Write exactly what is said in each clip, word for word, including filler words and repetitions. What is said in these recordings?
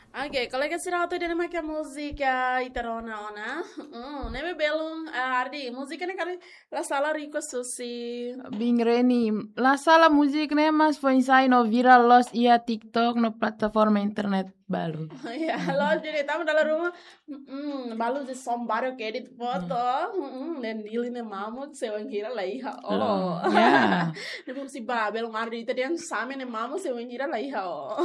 Oke, kolega sira hotu, ida-ne'e mak múzika ita rona ona. Hmm, ne'ebé belun, ah, Ardi, múzika ne'e karik la sala request husi Bing Reni. La sala múzika ne'e mak foin sai no viral loos iha TikTok no plataforma internet balu. Ya, loos jadi tama dalam rumah. Hmm, balu de sombaro ke edit foto. Hmm, dan dili ne'e mamuk se wainhira la iha. Oh. Ya. Ne'ebé husi ba, belun Ardi ita dehan same ne'e mamuk se wainhira la iha. Oh.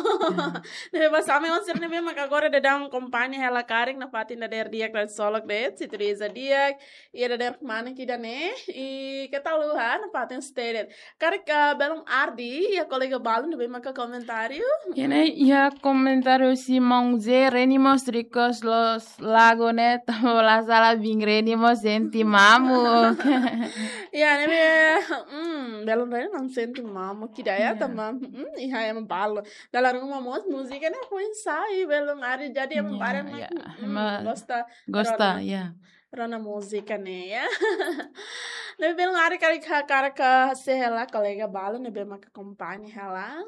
Ne'ebé ba same onsir ne'ebé maka agora daudaun akompaña hela karik nafatin dadeer di'ak, dadeer solok de'it, sintonia di'ak, iha dadeer manik ida-ne'e, i keta haluha nafatin stay de'it. Karik, ah, belun Ardi, iha kolega balu ne'ebé maka komentáriu. Iha ne'e, iha komentáriu husi maun Ze, Reni mós request loos lagu ne'e, tanba la sala Bing Reni mós sente mamuk. Ya, ne'ebé, hmm, belun Reni mak sente mamuk ida ya, ya, tanba, hmm, iha ema balu. Dalam rumah mós múzika ne'e foin sai, belun Ardi, jadi ema, ya, barak ya, mak, hmm, ema gosta, gosta rona, ya, rona múzika ne'e, ya. Ne'ebé belun Ardi karik hakarak hasai hela kolega balu ne'ebé maka akompaña hela.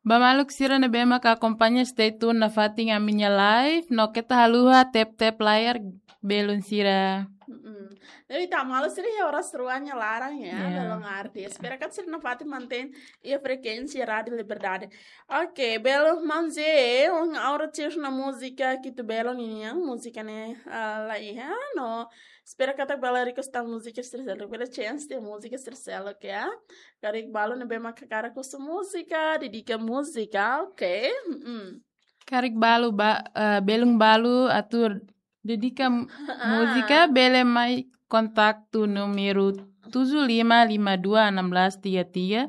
Ba maluk sira ne'ebé maka akompaña, stay tune nafatin ami-nia live, no keta haluha tap-tap layar belun sira. Mm-mm. Jadi ita maluk sira iha oras rua nia laran ya, ya, belun Ardi. Ya. Espera katak sira nafatin mantein iha frekuénsia Rádio Liberdade. Oke, belun maun Ze, ohin ha'u rona tiha ona múzika Kitu Belun ninian, múzika ne'e, ah, la iha, no espera katak bele request tan múzika sira seluk, bele chance tiha múzika sira seluk ya. Karik balu ne'ebé maka hakarak husu múzika, dedika múzika, oke. Mm-mm. Karik balu ba, eh, belun balu atu dedika m-, ah, múzika, bele mai kontaktu númeru tujuh lima lima dua enam belas tiga tiga.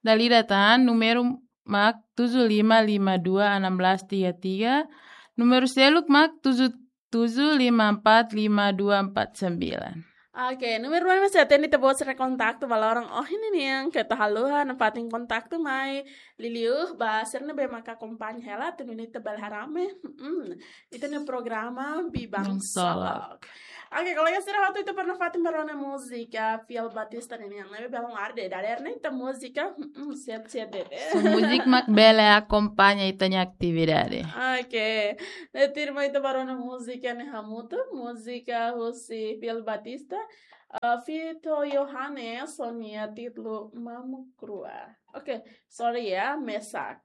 Dala ida tan, númeru mak tujuh lima lima dua enam belas tiga tiga. Númeru seluk mak tujuh tujuh lima empat lima dua empat sembilan. Oke, númeru ne'e mós sei atende ita-boot sira-nia kontaktu ba loron ohin ninian, keta haluha nafatin kontaktu mai. Liuliu ba sira ne'ebé maka akompaña hela, atu nune'e ita bele haree mai, mm, ita-nia programa Biban Solok. Oke, kolega sira hotu, ita pernah fatin ba rona múzika Fiel Batista ninian, ne'ebé belun Ardi, dadeer ne'e ita múzika, mm, siap-siap de'it. So múzika mak bele akompaña ita-nia atividade. Oke. Ne'e tuirmai ita ba rona múzika ne'e hamutuk, múzika husi Fiel Batista, eh, feat Yohanes, ho nia títulu Mamuk Rua. Oke, sorry ya, mesak.